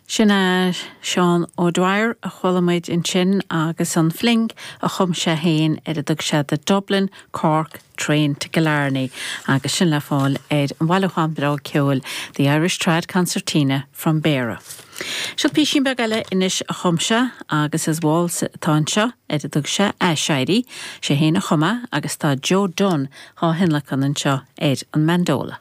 Sin é Seán O'Dwyer a chuala muid ansin agus an fling a chum sé féin ar a dtug sé The Dublin Cork Train to Killarney agus sin le fáil ar an bhailiúchán breá ceoil The Irish Trad Concertina from Béara. Seo písín beag eile anois a chum sé agus is waltz atá anseo ar a dtug sé Aiséirí. Sé féin a chum é agus tá Joe Dunne dhá thionlacan anseo ar an mandola.